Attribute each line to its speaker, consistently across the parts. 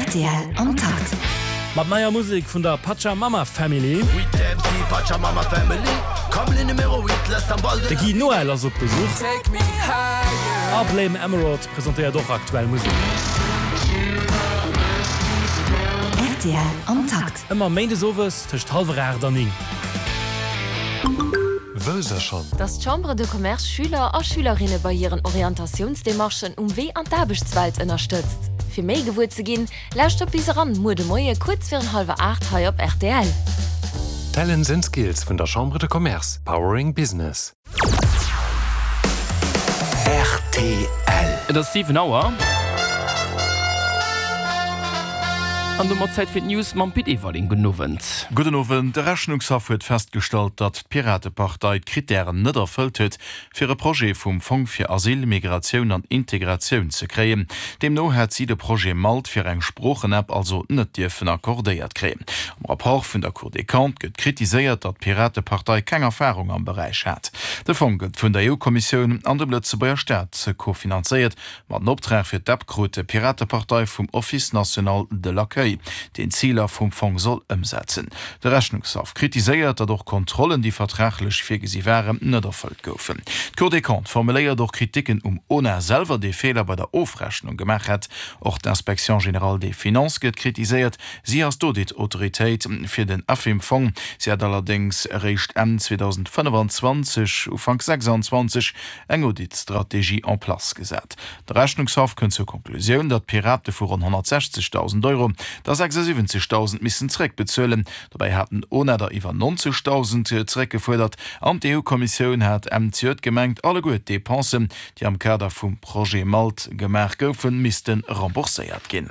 Speaker 1: Rtl am Takt.
Speaker 2: Mat neier Musek vun der Pachamama Family. De Guy Noel ass op Besuch. A Blame Emerald presentéiert och aktuell Musek.
Speaker 1: Rtl am Takt.
Speaker 2: Ëmmer méindes owes tëscht hallwer 8 an 9.
Speaker 3: Wësst der schonn?
Speaker 4: Dass d'Chambre de Commerce Schüler a Schülerinne bei hiren Orientatiounsdemarchen um Wee an d'Aarbechtswelt ënnerstëtzt. Fir méi gewuer ze ginn, lauschtert bis eran muer de Moie kuerz virun hallwer 8 hei op rtl.
Speaker 3: Talents and Skills vun der Chambre de Commerce, powering business.
Speaker 5: Rtl.
Speaker 6: Et ass 7 Auer. An domat Zäit fir d'News mam Pit Everling. Gudden Owend.
Speaker 7: Gudden Owend. De Rechnungshaff huet festgestallt, datt d'Piratepartei d'Krittären net erfëllt huet, fir e Projet vum Fong fir Asyl, Migratioun an Integratioun ze kréien. Deemno hätt si de Projet Malt fir eng Sproochenapp also net dierfen accordéiert kréien. Am Rapport vun der Cour des Comptes gëtt kritiséiert, datt d'Piratepartei keng Erfarung am Beräich hat. De Fong gëtt vun der EU-Kommissioun an dem Lëtzebuerger Staat kofinanzéiert. Ma den Optrag fir d'App krut d'Piratepartei vum Office national de l'accueil, deen d'Ziler vum Fong soll ëmsetzen. De Rechnungshaff kritiséiert, datt och Kontrollen, déi vertraglech virgesi waren, net erfëllt goufen. D'Cour des Comptes formuléiert och Kriticken um ONA selwer, dee Feeler bei der Ofrechnung gemaach hätt. Och d'Inspection générale des finances gëtt kritiséiert. Si ass d'Audit-Autoritéit fir den AFIM-Fong. Si hätt allerdéngs eréischt Enn 2025, Ufank 26 eng Audit-Strategie en place gesat. De Rechnungshaff kënnt zur Konklusioun, datt d'Pirate vu ronn 160.000 Euro der 76.000 missen zeréckbezuelen. Dobäi hat den ona der iwwer 90.000 zeréckgefuerdert an d'EU-Kommissioun hat Enn zejoert gemengt, alleguer d'Depensen, déi am Kader vum Projet Malt gemaach goufen, misste rembourséiert ginn.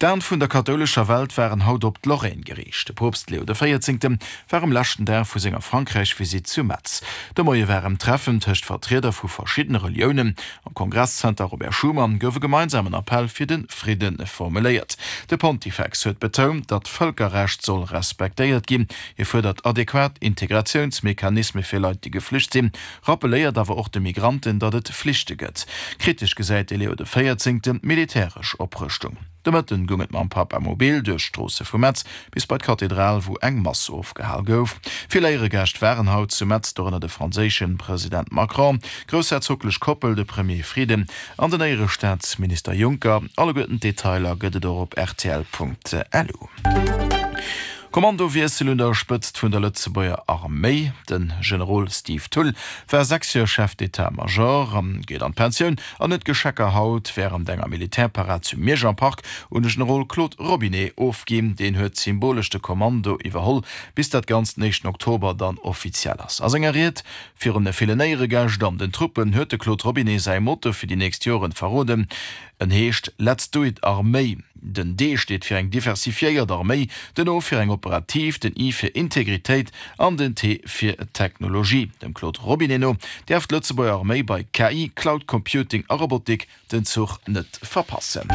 Speaker 7: D'Aen vun der kathoulescher Welt waren haut op d'Lorraine geriicht. De Poopst Leo de Véierzéngte war um leschten Dag vu senger Frankräich-Visitt zu Metz. De Moie war en Treffen tëscht Vertrieder vu verschiddene Reliounen. Am Kongresszenter Robert Schuman gouf e gemeinsamen Appell fir de Fridde formuléiert. De Pontifex huet betount, datt d'Vëlkerrecht soll respektéiert ginn. Hie fuerdert adequat Integratiounsmechanisme fir Leit, déi geflücht sinn, Rappeléiert awer och de Migranten, datt et Flichte gëtt. Kritesch gesäit de Leo de Véierzéngten d'militäresch Oprëschtung. De Mëtten goung et mam Papamobil duerch d'Stroosse vu Metz bis bei d'Kathedral, wou eng Mass ofgehal gouf. Vill Éieregäscht waren haut zu Metz, dorënner de franséische President Macron, d'groussherzoglech Koppel, de Premier Frieden an den Éierestaatsminister Juncker. Alleguerten d'Detailer gëtt et och op rtl.lu. Kommandowiessel un der Spëtzt vun der Lëtzebuerger Arméi. De Generol Steve Thull war 6 Joer Chef d'état-major, geet an d'Pensioun an huet d'Geschecker haut wärend enger Militärparad zu Miersch am Park un de Generol Claude Robinet ofginn. Deen huet symbolesch de Kommando iwwerholl, bis dat Ganzt den éischten Oktober dann offiziell ass. A senger Ried virun de villen Éieregäscht an den Truppen huet de Claude Robinet säi Motto fir déi nächst Joren verroden, En heescht Let's do it Arméi. Den D steet fir eng diversifiéiert Arméi, den O fir eng operativ, den I fir Integritéit an den T fir Technologie. Dem Claude Robinet no däerf d'Lëtzebuerger Arméi bei KI, Cloud Computing a Robotik den Zuch net verpassen.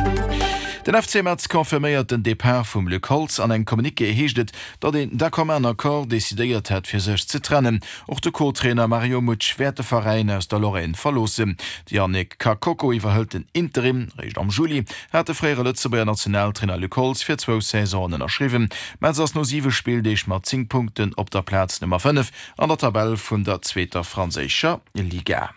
Speaker 7: Den FC Metz confirméiert den Depart vum Luc Holtz. An engem Communiqué heescht et, datt een d'un commun accord decidéiert hätt, fir sech ze trennen. Och de Co-Trainer Mario Mutsch wäert de Veräin aus der Lorraine verloossen. De Yannick Kakoko iwwerhëlt den Interim. Réischt am Juli hat de fréiere Lëtzebuerger Nationaltrainer Luc Holtz fir zwou Saisonen ënnerschriwwen. Metz ass no siwe Spilldeeg mat 10 Punkten op der Plaz Nummer 5 an der Tabell vun der zweeter franséischer Liga.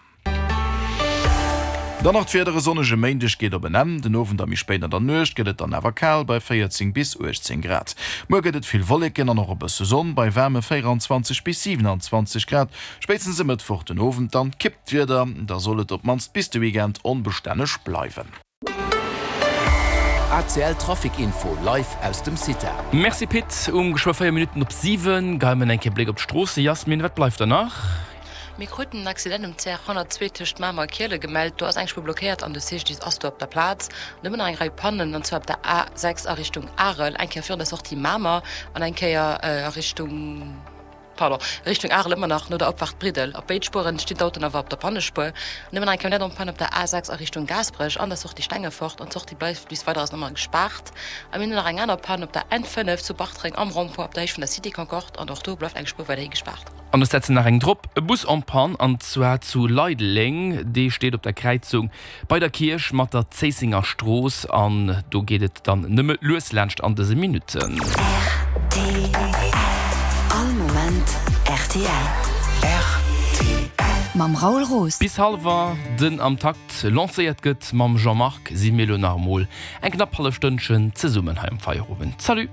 Speaker 7: Dann nach d'Wieder, E sonnege Méindeg geet op en Enn. Den Owend a méi spéit an der Nuecht gëtt et dann awer kal bei 14 bis 18 Grad. Muer gëtt et vill Wolleken an och e bësse Sonn bei waarme 24 bis 27 Grad. Spéitstens e Mëttwoch den Owend dann kippt d'Wieder, da soll et op d'mannst bis de Weekend onbestänneg bleiwen.
Speaker 5: ACL Trafic Info live aus dem CITA.
Speaker 6: Merci Pit. Um geschwë 4 Minutten op 7 geie mer eng Kéier Bléck op d'Stroosse. Jasmin, wat bleift der nach?
Speaker 8: Mir kruten en Accident um CR 102 tëscht Mamer a Kiele gemellt. Do ass eng Spuer blockéiert an de CGDIS ass do op der Plaz. An ëmmer nach eng Rei Pannen, an zwar op der A6 a Richtung Arel, eng Kéier virun der Sortie Mamer an eng Kéier a Richtung. Pardon, Richtung Arel ëmmer nach no der Opfaart Briddel. Op béid Spueren stinn d'Autoen awer op der Pannespuer. An ëmmer nach eng Camionnette en panne op der A6 a Richtung Gaasperech an der Sortie Stengefort an d'Sortie bleift bis weider ass ëmmer gespaart. A mir hunn nach eng aner Panne op der N5 zu Bartreng am Rond-point op der Héicht vun der Cité Concorde an och do bleift eng Spuer weiderhi gespaart.
Speaker 6: An ech setzen nach eng drop, e Bus en panne an zwar zu Leideleng. Dee steet op der Kräizung bei der Kierch mat der Zéissenger Strooss an do geet et dann nëmme lues laanscht an dëse Minutten.
Speaker 1: Rtl, All Moment rtl.
Speaker 5: Rtl.
Speaker 1: Mam Raoul Roos.
Speaker 6: Bis hallwer den Am Takt lancéiert gëtt mam Jean-Marc si mir elo nach emol eng knapp hallef Stënnchen zesummen hei am Feierowend. Salut!